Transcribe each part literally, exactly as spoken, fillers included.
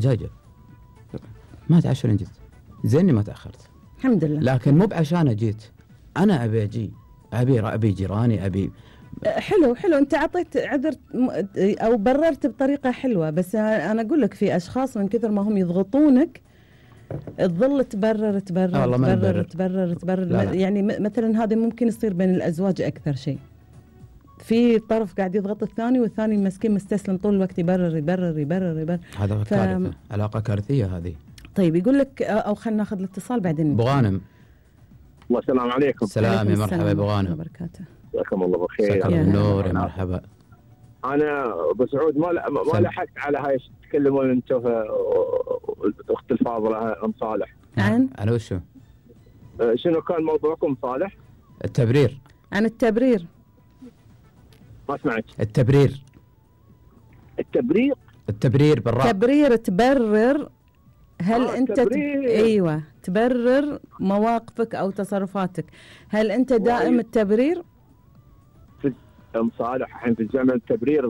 جاي جاي ما تعشر جيت زيني ما تأخرت الحمد لله. لكن مو بعشان جيت أنا أبي أجي أبي أبي جيراني أبي. حلو حلو أنت عطيت عذر أو بررت بطريقة حلوة، بس أنا أقول لك في أشخاص من كثر ما هم يضغطونك تظل تبرر تبرر آه تبرر تبرر تبرر لا لا. يعني مثلا هذا ممكن يصير بين الأزواج أكثر شيء، في طرف قاعد يضغط الثاني والثاني مسكين مستسلم طول الوقت يبرر يبرر يبرر يبرر. هذا ف... كارثة، علاقة كارثية هذه. طيب يقول لك أو خلنا ناخذ الاتصال بعدين. أبو غانم. الله السلام عليكم. السلام يا مرحبا أبو غانم. وبركاته. جزاكم الله بخير. مساك الله بالنور يا مرحبا. أنا أبو سعود ما ما لحقت على هاي تتكلمون أنتم أخت الفاضلة أم صالح. عن؟ على وشو؟ شنو كان موضوعكم صالح؟ التبرير. عن التبرير. ما سمعت. التبرير. التبرير. التبرير بالراء. تبرير تبرر. هل آه أنت تبرير. ت... أيوة تبرر مواقفك أو تصرفاتك، هل أنت دائم التبرير؟ في أم صالح الحين في الزمن التبرير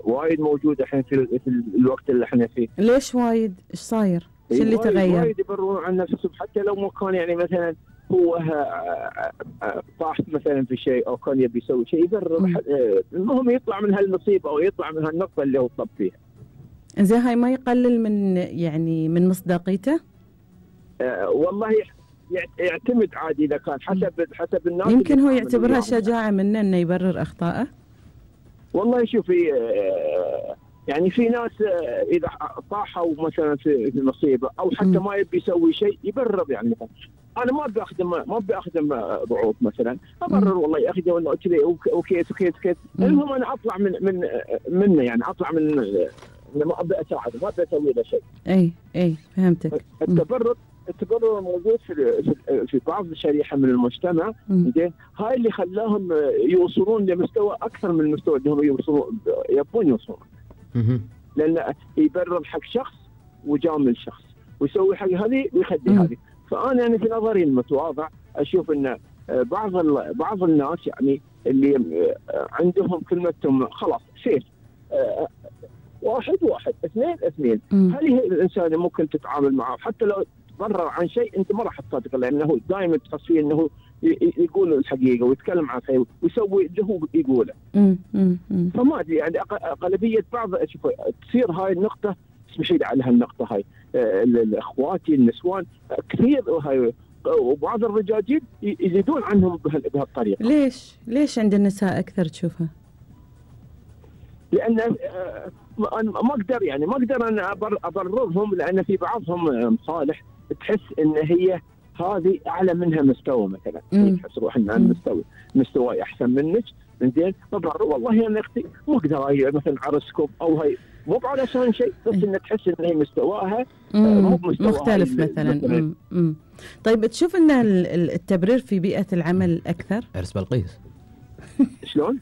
وايد موجود الحين في, في الوقت اللي احنا فيه. ليش وايد؟ إيش صاير؟ إيش اللي تغير؟ وايد يبررون عن نفسهم حتى لو ما كان يعني مثلا هو طاح مثلا في شيء او كان يبي يسوي شيء يبرر. المهم يطلع من هالمصيبه او يطلع من هالنقطه اللي هو طب فيها. زين هاي ما يقلل من يعني من مصداقيته؟ أه والله يعتمد عادي اذا كان حسب حسب الناس. يمكن هو يعتبرها شجاعه منه انه يبرر اخطائه. والله شوفي يعني في ناس اذا طاحوا مثلا في مصيبه او حتى م. ما يبي يسوي شيء يبرر. يعني مثلا انا ما ابي اخدم ما ابي اخدم ضعوف مثلا ابرر م. والله يا اخي ولا كذا وكيف وكيف وكيف. المهم انا اطلع من من منه يعني اطلع من ما ابي اساعده ما ابي اسوي له شيء. اي اي فهمتك. التبرر التبرر موجود في في بعض الشريحه من المجتمع زين. هاي اللي خلاهم يوصلون لمستوى اكثر من المستوى اللي هم يوصلون يبون يوصلون. لان يبرر حق شخص وجامل شخص ويسوي حق هذه ويخدي هذه. فانا يعني في نظري المتواضع اشوف ان بعض بعض الناس يعني اللي عندهم كلمتهم خلاص سيف واحد واحد اثنين اثنين. هل الانسان ممكن تتعامل معه حتى لو تبرر عن شيء انت ما راح تصدق لانه دائما تحس فيه انه يقول الحقيقه ويتكلم عن شيء ويسوي اللي هو يقوله. فما ادري يعني اغلبيه بعض تصير هاي النقطه اسمحي لي على هالنقطه هاي الاخواتي النسوان كثير هاي وبعض الرجاجيل يزيدون عنهم بهالطريقه. ليش؟ ليش عند النساء اكثر تشوفها؟ لان ما اقدر يعني ما اقدر انا ابررهم لان في بعضهم صالح تحس ان هي هذه اعلى منها مستوى مثلا تحس روح انها مستوى مستوى احسن منك زين ببرر والله انا اختي مو اقدر هي مثلا عرسكم او هي مو علشان شيء بس ان تحس ان هي مستواها مو مستوى مختلف مثلا. مثلاً. مم. طيب تشوف ان التبرير في بيئه العمل اكثر؟ عرس بلقيس شلون؟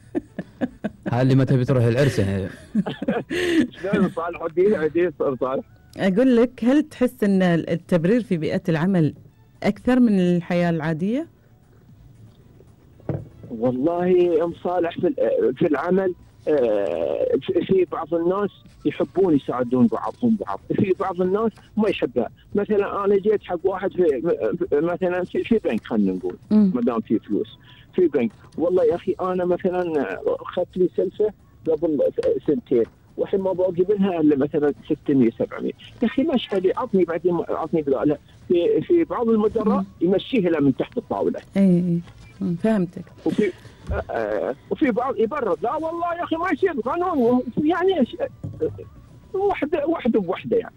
هاي اللي ما تبي تروح العرس يعني. شلون صالح ودي عدي صالح؟ اقول لك هل تحس ان التبرير في بيئه العمل اكثر من الحياه العاديه؟ والله ام صالح في في العمل في بعض الناس يحبون يساعدون بعضهم بعض، في بعض الناس ما يحبها. مثلا انا جيت حق واحد في مثلا في بنك خلينا نقول ما دام في فلوس في بنك، والله يا اخي انا مثلا اخذت لي سلفه قبل سنتين والحين ما باقي منها الا مثلا ستمية سبعمية، يا اخي مشى لي عطني بعدين عطني لا في في بعض المدراء يمشيه له من تحت الطاوله. اي فهمتك. وفي آه وفي بعض يبرر لا والله يا اخي ما يصير قانون يعني واحده واحده بوحده يعني.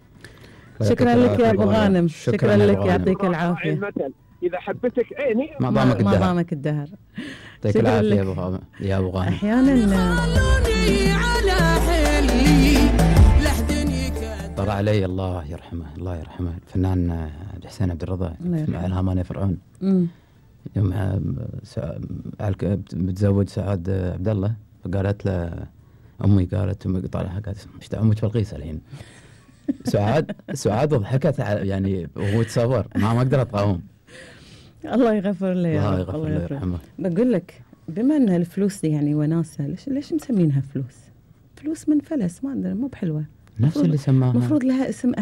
شكرا لك يا ابو غانم، شكرا لك يعطيك العافيه. المثل اذا حبتك عيني ما ضامك الدهر، ما ضامك الدهر. يعطيك العافيه يا ابو غانم. يا ابو غانم احيانا طلع علي الله يرحمه الله يرحمه الفنان حسين عبد الرضا مع الهامان فرعون. امم يوم بتزوج سعاد عبد الله فقالت له امي قالت امي طالعه قالت ايش امك بلقيس الحين. سعاد سعاد ضحكت يعني وهو يتصور ما ما اقدر اقاوم. الله يغفر له يا رب الله يرحمه. بقول لك بما ان الفلوس دي يعني وناسه، ليش ليش مسمينها فلوس؟ فلوس من فلس ما ادري مو بحلوه. نفس اللي سماها المفروض لها اسم